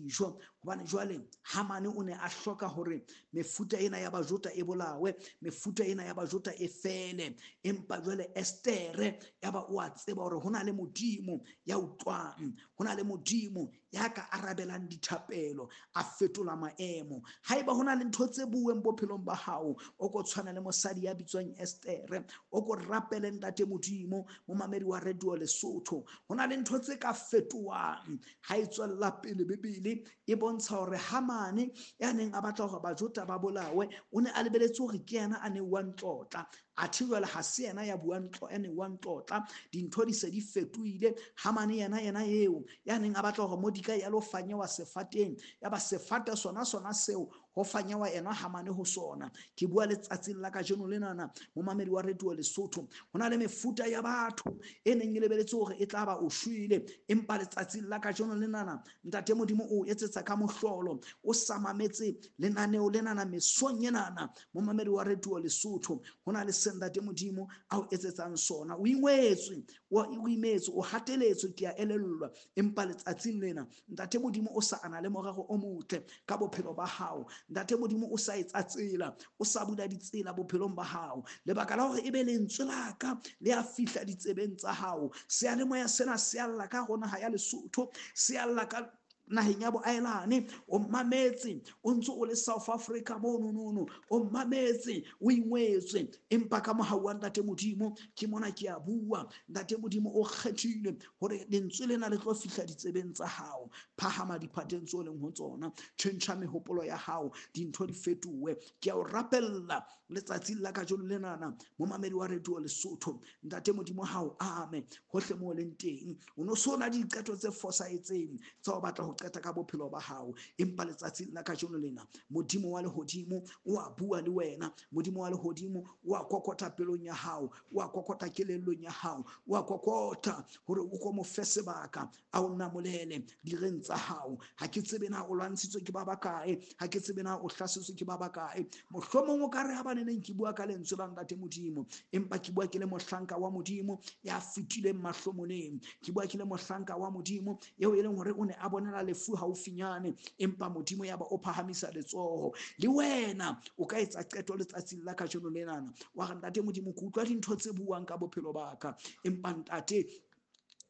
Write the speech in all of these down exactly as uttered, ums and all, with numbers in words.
dijo, hobane jwale Hamane o ne a hloka hore mefuta ena ya Bajota e bolawe, mefuta ena ya Bajota e fele. Empa jwale Estere ya ba o a tseba hore ho na le Modimo ya utlwang, ho na le Modimo ya ka arabelang dithapelo, a fetola maemo. Haeba ho na le ntho tse bueng bophelong ba hao, o ko tshwana le mosadi ya bitswang Estere, o ko rapele Ntate Modimo, momamedi wa Radio Lesotho. Ho na le ntho tse ka fetohang. Ha e tswella pele Bibele e bontsha hore Hamane ya neng a batla hore Bajota ba bolawe, o ne a lebeletse hore ke yena a newang tlotla. Athe jwale ha se yena ya buang tlo, ya newang tlotla. Dintho di se di fetohile. Hamane yena yena eo ya neng a batla hore Mordekai a lo fanyewa sefateng, ya ba sefate sona sona seo ho fanyewa yena Hamane ho sona. Ke bua letsatsing la kajeno lenana, momamedi wa Radio Lesotho, ho na le mefuta ya batho e neng e lebeletse hore e tla ba o shwele, empa letsatsing la kajeno lenana Ntate Modimo o etsetsa ka mohlolo. O sa mametse lenaneo lenana mesong enana, momamedi wa Radio Lesotho, ho na le se Ntate Modimo a o etsetsang sona. O ingwetswe, o imetswe, o hateletswe, ke a elellwa, empa letsatsing lena Ntate Modimo o sa ana le morero o motle ka bophelo ba hao. Ntate Modimo o sa etsa tsela, o sa bula ditsela bophelong ba hao. Lebaka la hore ebe lentswe la ka le a fihla ditsebeng tsa hao, seyalemoya sena se alla ka ho naha ya Lesotho, se alla ka naheng ya boaelane. O mametse o ntse o le South Africa mono nono, o mametse o ingwetswe, empa ka mohau wa Ntate Modimo ke mona ke a bua. Ntate Modimo o kgethile hore lentswe lena le tlo fihla ditsebeng tsa hao. Phahama diphateng tseo leng ho tsona, tjhentjha mehopolo ya hao, dintho di fetohe. Ke a o rapella letsatsing la kajeno lenana, momamedi wa Radio Lesotho, Ntate Modimo hao ame hohle moo leng teng. O no so na diqeto tse fosahetseng tsa ho batla ho qeta ka bophelo ba hao, empa letsatsing la kajeno lena Modimo wa lehodimo o a bua le wena. Modimo wa lehodimo o a kokota pelong ya hao, o a kokota kelellong ya hao, o a kokota hore o ko mo fe sebaka a o namolele direng tsa hao. Ha ke tsebe na o lwantshitswe ke ba bakae, ha ke tsebe na o hlasetswe ke ba bakae. Mohlomong o ka re ha ba neneng ke bua ka lentswe la Ntate Modimo, empa ke bua ke le mohlanka wa Modimo ya fetileng mahlomoleng. Ke bua ke le mohlanka wa Modimo eo e leng hore o ne a bonela lefu haufinyane, empa Modimo ya ba o phahamisa letsoho. Le wena o ka etsa qeto letsatsing la kajeno lenana, wa re Ntate Modimo, ke utlwa dintho tse buang ka bophelo ba ka, empa Ntate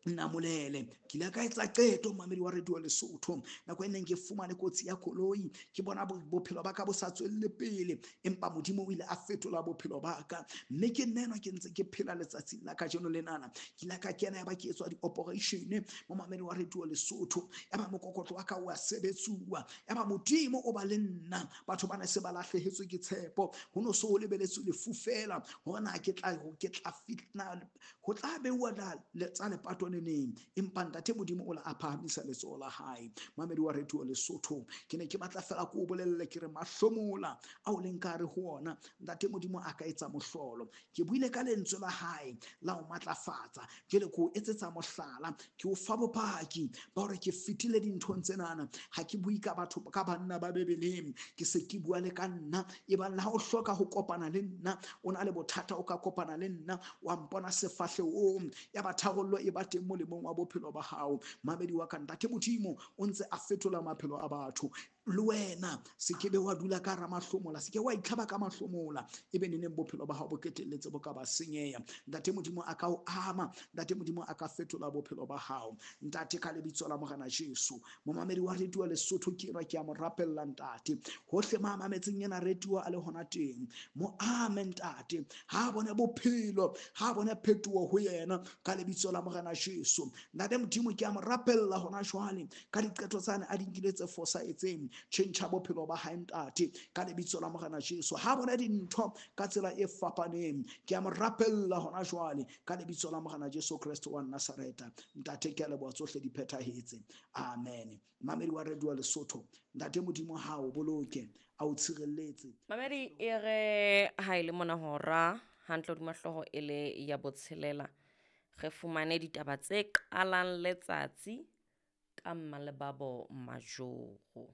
namolele. Ke ile ka etsa qeto, momamedi wa Radio Lesotho, nako e neng ke fumane kotsi ya koloi, ke bona bophelo ba ka bo sa tswelle pele, empa Modimo o ile a fetola bophelo ba ka, mme ke nna enwa ke ntse ke phela letsatsing la kajeno lenana. Ke ile ka kena ya ba ke etswa di-operation, momamedi wa Radio Lesotho, ya ba mokokotlo wa ka o a sebetsuwa, ya ba Modimo o ba le nna. Batho ba ne se ba lahlehetswe ke tshepo, ho no so ho lebeletswe lefu fela, hore na ke tla ke tla fitna ho tla beuwa tsa lepato neng, empa Ntate Modimo o la a phahamisa letsoho la hae. Mamedi wa Radio Lesotho, ke ne ke batla fela ko o bolelle ke re mahlomola ao leng ka re ho ona, Ntate Modimo a ka etsa mohlolo. Ke buile ka lentswe la hae la ho matlafatsa, jwale ke o etsetsa mohlala, ke o fa bopaki ba hore ke fetile dinthong tsenana. Ha ke bue ka batho ka banna ba Bibeleng, ke se ke bua le ka nna. Ebang le ha o hloka ho kopana le nna, o na le bothata, o ka kopana le nna, wa mpona sefahlehong, ya ba tharollo e ba teng molemong wa bophelo ba hao. Mamedi wa ka, Ntate Modimo o ntse a fetola maphelo a batho. Le wena se ke be wa dula ka hara mahlomola, se ke wa itlhaba ka mahlomola, ebe neneng bophelo ba hao bo ketelletse bo ka ba senyeha. Ntate Modimo a ka o ama, Ntate Modimo a ka fetola bophelo ba hao. Ntate, ka lebitso la Morena Jesu, momamedi wa Radio Lesotho ke enwa, ke a mo rapella Ntate, hohle ma mametseng ena radio a le hona teng, mo ame Ntate, ha bone bophelo, ha bone phetoho ho yena ka lebitso la Morena Jesu. Ntate Modimo ke a mo rapella hona jwale ka diqeto tsane a di nkile tse fosahetseng, tjhentjha bophelo ba hae Ntate ka lebitso la Morena Jesu. Ha bona dintho ka tsela e fapaneng, ke a mo rapella hona jwale ka lebitso la Morena Jesu Kreste wa Nazareta. Ntate, ke a leboha, tsohle di phethahetse. Amen. Mamedi wa Radio Lesotho, Ntate Modimo ha o boloke, a o tshireletse. Mamedi e re ha ile mona hora hantle hodima hlooho e le ya botshelela, re fumane ditaba tse qalang letsatsi ka Mmalebabo Majoro.